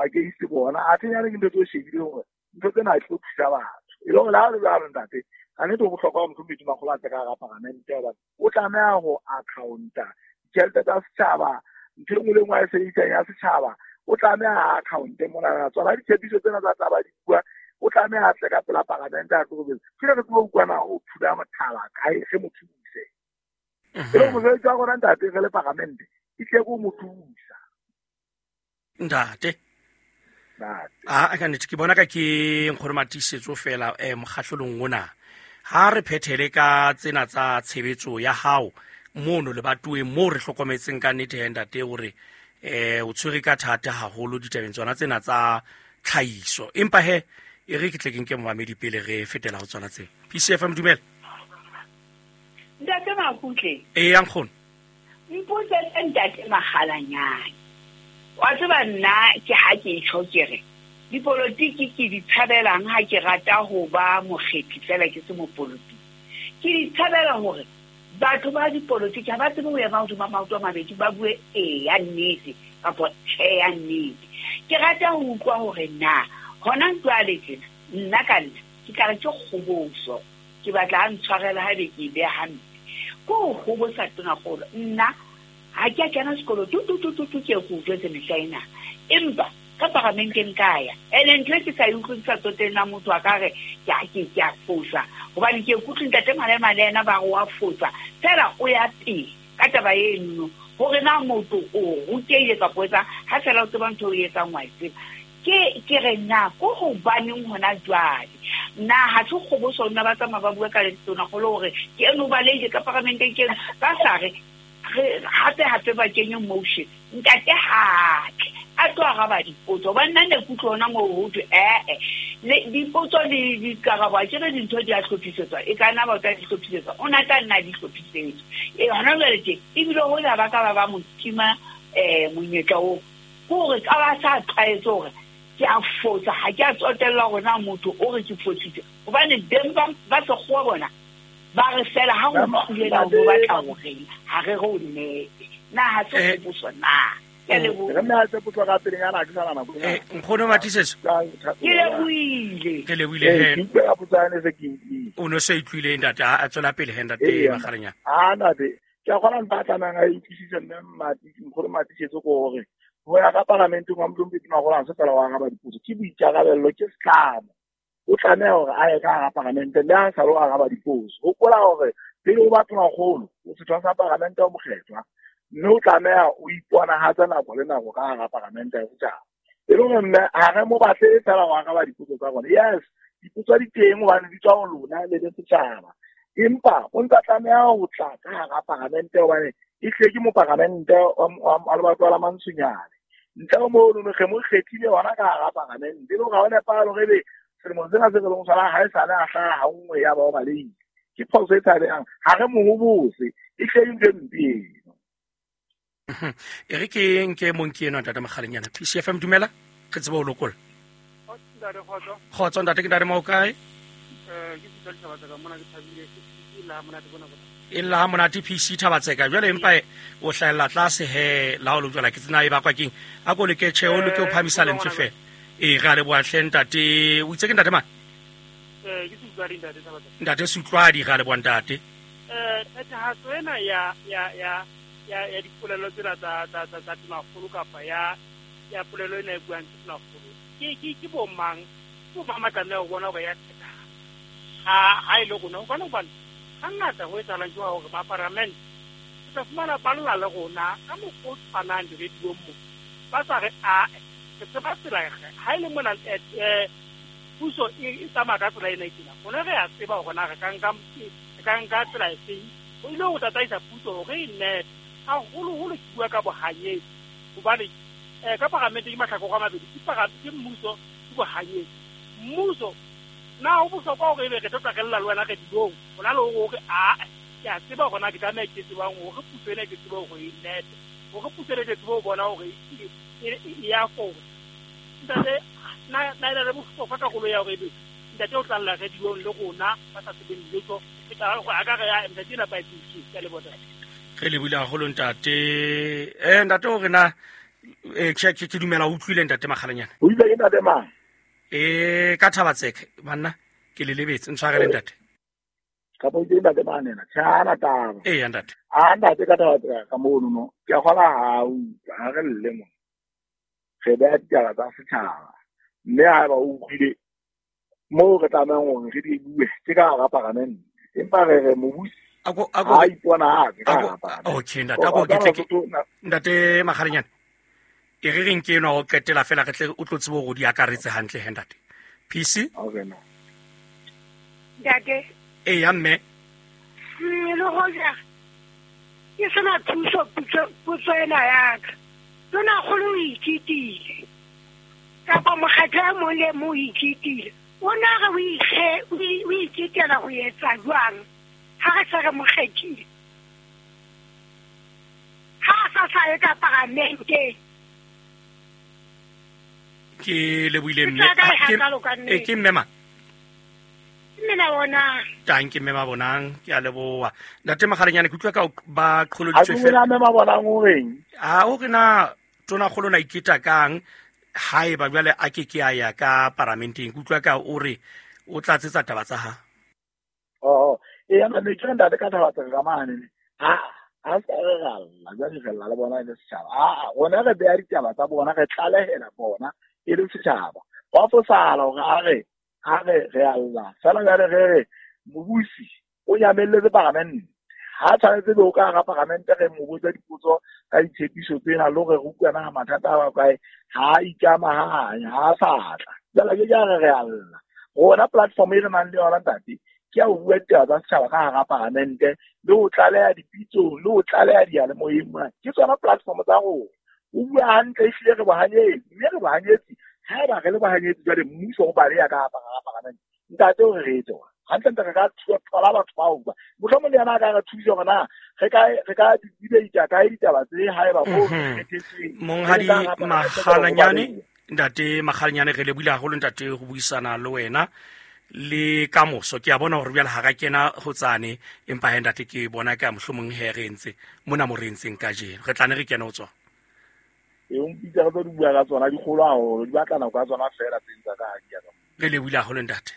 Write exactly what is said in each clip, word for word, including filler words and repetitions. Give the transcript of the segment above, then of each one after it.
Against bona a tsenya le ntho tse shebile hore ntho tsena di tlo thusa batho e le hore la le jwalo ntate a ne to bohlokwa motho motho makgolo a tla ka paramente ba o tlameha ho accounta ditjhelete tsa setjhaba ntho e nngwe le nngwe a e sebedisang ya setjhaba o tlameha account mona tsona ditshepiso tsena tsa tla ba di bua o tlameha a tle ka pela paramente a tlo ke re tsebo utlwana o phula mothaba kae ge mo thuse e le mosebetsi wa rona ntate re le paramente e tle go mo thusa ntate. A ka nnete ke bona ka ke nkgono Matiisetso fela eh mokgahlelong ona ha re phethele ka tsena tsa tshebetso ya hao mono lebatoweng moo re hlokometseng ka nnete he ntate hore eh o tshwere ka thata haholo ditabeng tsona tsena tsa tlhahiso empa he e re ke tle ke nke momamedi pele re fetela ho tsona tse. P C F M dumela ntate Makutle. E ya nkgono mpotse ntate Makgalanyane wa tseba nna ke ha ke itjho ke re dipolotiki ke di tshabelang ha ke rata ho ba mokgethi fela ke se mopolotiki ke di tshabela hore batho ba dipolotiki ha ba tsebe ho ema hodima maoto a mabedi ba bue e ya nnete kapa tjhe ya nnete. Ke rata ho utlwa hore na hona jwale tjena nna ka nna ke tla re ke kgoboso ke batla a ntshwarela haebe ke e beha hampe ko ho kgobosa tonakgolo nna ha ke a kena sekolo tu tu tu tu tu ke go jwetse mehla ena empa ka paramenteng ka ya ene ntho e ke sa e utlwe ke sa tsotella motho a ka re ke a ke ke a fosa hobane ke ikutlwe ntate Malema le yena ba re wa fosa fela o ya pele ka taba eno hore na motho o rutehile kapa o etsang ha fela o tseba ntho o e etsang wa e tseba ke ke re na ko hobaneng hona jwale nna ha se kgoboso nna ba tsamaya ba bua ka tonakgolo hore ke eno ba leile ka paramenteng ke eno ba sa re hape hape ba kenye motion ntate hatle a tlo araba dipotso hobane nna ne ke utlwa hona moo ho thwe ee le dipotso le dikarabo a ke re dintho di a hlophisetswa e ka nna ba tla di hlophisetswa o na tla nna di hlophisetswa e hona jwale tje ebile hoja ba ka ba ba mo tima um monyetla oo ke hore ka ba sa tlwaetse hore ke a fosa ha ke a tsotella hore na motho o re ke fositse hobane beng ba ba sekgowa bona ba re fela ha o thulela o batla ho reng ha re re o nnete na ha se kgoboso na ke leboha re nna tse potso ka pelenyana ke sana nako eh nkgono Matiisetso ke lebohile ke lebohile he ke a potsa ne se ke utlwile o no se utlwile ntate a tswela pele he ntate Makgalanyane a ntate ke a kgona nta tlameha a utlwisise mme Matiisetso nkgono Matiisetso ko hore ho ya ka paramenteng wa Motlompedi Magolo ha se fela wa araba dipotso ke boikarabello ke setlamo o tlameha hore a ye ka hara paramente le ha sa lo araba dipotso hopola hore pele o ba tonakgolo o setho sa paramente o mokgethwa mme o tlameha o iponahatsa nako le nako ka hara paramente ya setjhaba e le hore mme ha re mo batle fela ho araba dipotso tsa rona yes dipotso di teng hobane di tswa ho lona le le setjhaba empa o ntsa tlameha ho tla ka hara paramente hobane e hle ke moparamente wa lebatwa la Mantsonyane ntle ho mono re mo kgethile hona ka hara paramente e le hore ha o nepahale hore ebe selemo sena se re leng sona ha e sale a hlaha ha nngwe ya ba o balehile ke phoso e tshabehang ha re mo hobose e hle ntho e mpe eno. E re ke nke monki eno ntate Makgalanyane P C F M dumela re tsebe ho lokolla kgotso ntate ke ntate Maokae e lla ha monate P C Thabatseka jwale empa o hlahella tlase he la ho jwala ke tsena e bakwa keng a ko leke tjhe o loke o phamisa lentswe fela e re a leboha hle ntate o itse ke ntate mang eh ke Sutlwadi ntate Thabatseka ntate Sutlwadi re a leboha ntate eh phethahatso ena ya ya ya ya ya dipolelo tsena tsa tsa tsa tsa tonakgolo kapa ya ya polelo ena e buang tonakgolo ke ke ke bo mang ke bo mang ba tlameha ho bona hore ya phethahala ha ha e le rona hobane hobane hangata ho etsahalang ke hore ba paramente o tla fumana ba lla le rona ka mokgwa o tshwanang diradiong mo ba sa re a re tseba tsela ha e le mona eh puso e tsamaya ka tsela ena e tjena rona re a tseba hore na re ka nka re ka nka tsela efeng o ile ho tataisa puso hore e nepe haholoholo ke bua ka bohanyetsi hobane eh ka paramente ke mahlakore a mabedi ke ke mmuso ke bohanyetsi mmuso na ho bohlokwa hore ebe re tlo tla re lla le wena re dilong hona le hore a ke a tseba hore na ke tlameha ke tsebang hore puso ena ke tsebe hore e nepe hore puso ena ke tsebe ho bona hore e ya fosa ntate na na e le bohlokwa karolo ya hore ebe ntate o tla lla re dilong le rona ba sa tsebeng letho ke tla hore a ka re ya ntate ena ba e tsebise ke a leboha. Re lebohile haholo ntate eh ntate hore na Eh ke ke dumela o utlwile ntate Makgalanyane. O ile ke ntate mang? Eh ka Thabatseke banna ke le lebetse ntshwarele ntate. Ka bo ke ntate mang ena? Tjhana taba. Eh ntate. A ntate ka Thabatseke ka mono no. Ke a kgola ha o ha re lle mo. Re beha ditaba tsa setjhaba. Mme ha ba o utlwile mo re tlamehang hore re di bue ke ka hara paramente. Empa re re mobusi ako ako ha ipona ha ke ka hara paramente. Okay ntate ako ke tle ke ntate Makgalanyane. E re reng ke enwa ho qetela fela re tle o tlo tsebe hore di akaretse hantle he ntate. P C? Okay no. Ntate. Eh ya mme. Le hoja ke sena thuso putso putso ena ya ka. Tona kgolo o ithutile. Kapa mokgatlo e mong le mong o ithutile. O na re o ikge o ithutela ho etsa jwang ha re se re mo kgethile. Ha a sa sa ye ka paramenteng. Ke lebohile mme ke ke mme ma mme na bona tang ke mme ma bonang ke a leboha ntate Makgalanyane ke utlwa ka ba qholoditswe fela mme ma bonang o reng ha o re na tona kgolo na iketa kang haeba jwale a ke ke a ya ka paramenteng ke utlwa ka o re o tlatsetsa taba tsa ha oh e ya mme ke ntate ka taba tsa ka mane ha ha sa re ralla jwale re lla le bona le setjhaba a rona re beha ditaba tsa bona re tlalehela bona e le setjhaba wa fosala hore a re ha re re alla fela jwale re re mobusi o nyamelletse paramente ha tshwanetse be o ka hara paramente re mo botsa dipotso ka ditshepiso tsena le hore re utlwana ha mathata a kae ha ikamahanya ha sa tla jwale ke ja re re alla rona platform e re nang le yona ntate ke ya ho bua ditaba tsa setjhaba ka hara paramente le ho tlaleha dipitsong le ho tlaleha diyalemoyeng mona ke tsona platform tsa rona. O bua hantle ehlile re bohanyetsi mme re bohanyetsi haeba re le bohanyetsi jwale mmuso o baleha ka hara paramente ntate o re re etse hantle ntate re ka thola batho bao ba mohlomong le yena a ka re thusa hore na re ka re ka debate kae ditaba tse haeba mo kgethetsweng. Monghadi Makgalanyane ntate Makgalanyane re lebohile haholo ntate ho buisana le wena le kamoso ke a bona hore jwale ha ra kena ho tsane empa he ntate ke bona ka mohlomong he re entse mona mo re entseng kajeno re tla ne re kena ho tsona. E o mpitsa re tlo di bua ka tsona di kgolo haholo di batla nako ya tsona fela tse ntsa ka ha di ya ka. Re lebohile haholo ntate.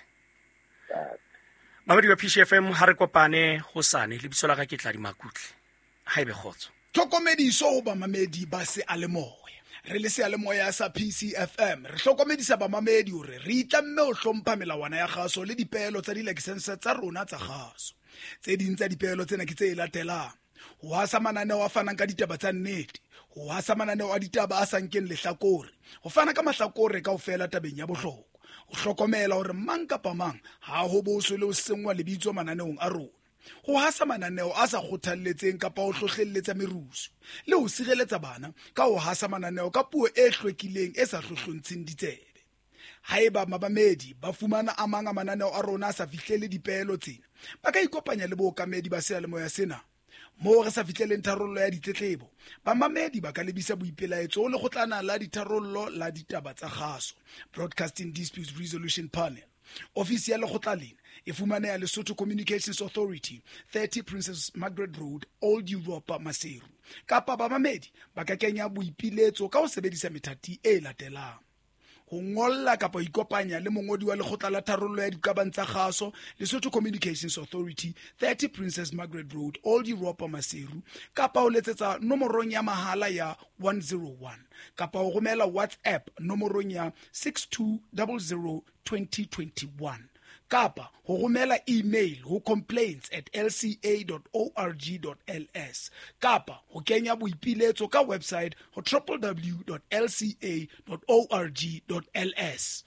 Mamedi wa P C F M ha re kopane hosane lebitso la ka ke Tladi Makutle ha ebe kgotso. Tlhokomediso ho bamamedi ba seyalemoya. Re le seyalemoya sa P C F M re hlokomedisa bamamedi hore re itlamme ho hlompha melawana ya kgaso le dipeelo tsa dilakesense tsa rona tsa kgaso. Tse ding tsa dipeelo tsena ke tse latelang: ho hasa mananeo a fanang ka ditaba tsa nnete, ho hasa mananeo a ditaba a sa nkeng lehlakore, ho fana ka mahlakore kaofela tabeng ya bohlokwa, ho hlokomela hore mang kapa mang ha ho boswe le ho senngwa lebitso mananeong a rona, ho hasa mananeo a sa kgothalletseng kapa ho hlohlelletsa merusu, le ho sireletsa bana ka ho hasa mananeo ka puo e hlwekileng e sa hlohlontsheng ditsebe. Haeba mabamedi ba fumana a mang a mananeo a rona a sa fihlele dipeelo tsena, ba ka ikopanya le bookamedi ba seyalemoya sena. Moo re sa fihleleng tharollo ya ditletlebo, bamamedi ba ka lebisa boipelaetso ho lekgotlana la ditharollo la ditaba tsa kgaso, Broadcasting Disputes Resolution Panel. Ofisi ya lekgotla lena e fumaneha Lesotho Communications Authority, thirty Princess Margaret Road, Old Europa, Maseru. Kapa bamamedi ba ka kenya boipiletso ka ho sebedisa methati e latelang: ho ngolla kapa ho ikopanya le mongodi wa lekgotla la tharollo ya diqabang tsa kgaso, Lesotho Communications Authority, thirty Princess Margaret Road, Old Europa, Maseru, kapa ho letsetsa nomorong ya mahala ya one zero one, kapa ho romela WhatsApp nomorong ya six two zero zero twenty twenty-one, kapa ho romela email ho complaints at l c a dot org dot l s, kapa ho kenya boipiletso ka website ho w w w dot l c a dot org dot l s.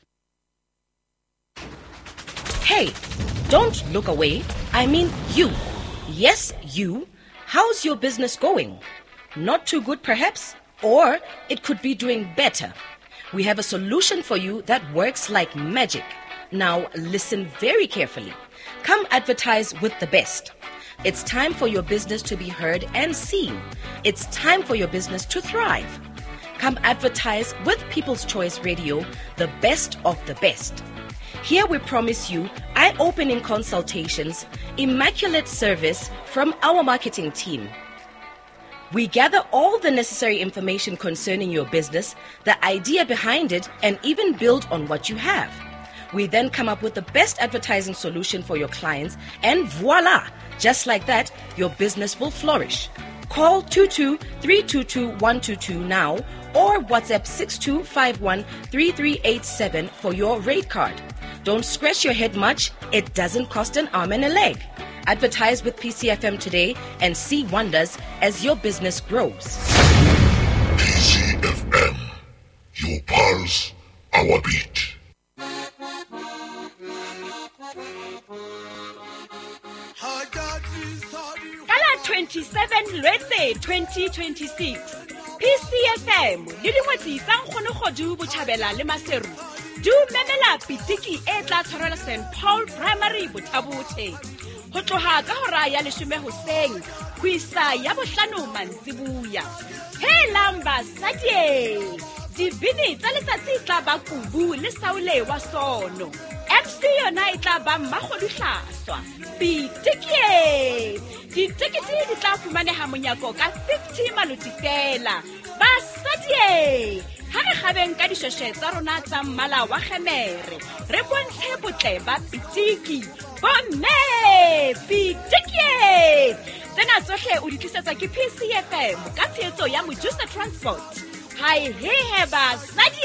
Hey, don't look away. I mean you. Yes, you. How's your business going? Not too good perhaps? Or it could be doing better. We have a solution for you that works like magic. Now listen very carefully. Come advertise with the best. It's time for your business to be heard and seen. It's time for your business to thrive. Come advertise with People's Choice Radio, the best of the best. Here we promise you eye-opening consultations, immaculate service from our marketing team. We gather all the necessary information concerning your business, the idea behind it, and even build on what you have. We then come up with the best advertising solution for your clients, and voila! Just like that, your business will flourish. Call two two three two two one two two now or WhatsApp six two five one three three eight seven for your rate card. Don't scratch your head much, it doesn't cost an arm and a leg. Advertise with P C F M today and see wonders as your business grows. P C F M, your pulse, our beat. twenty-seven Lwetse twenty twenty-six P C F M le dingwetsi tsa Nkgono Kgodu Botjhabela le Maseru di o memela pitiki e tla tshwarelwa Saint Paul Primary Bothabothe ho tloha ka hora ya leshome hoseng ho isa ya bohlano mantsibuya. Helang basadi, dibini tsa letsatsi tla ba Kubu le Saule wa Sono. M C yona e tla ba Mmakgodu Hlaswa. Pitiki! Ditekete di tla fumaneha monyako ka fifty maloti fela. Basadi, ha re kgabeng ka dishweshwe tsa rona tsa mmala wa kgemere, re bontshe botle ba pitiki. Bomme, pitiki! Tsena tsohle o di tlisetswa ke P C F M ka tshehetso ya Mojusa Transport. Hai he he basadi!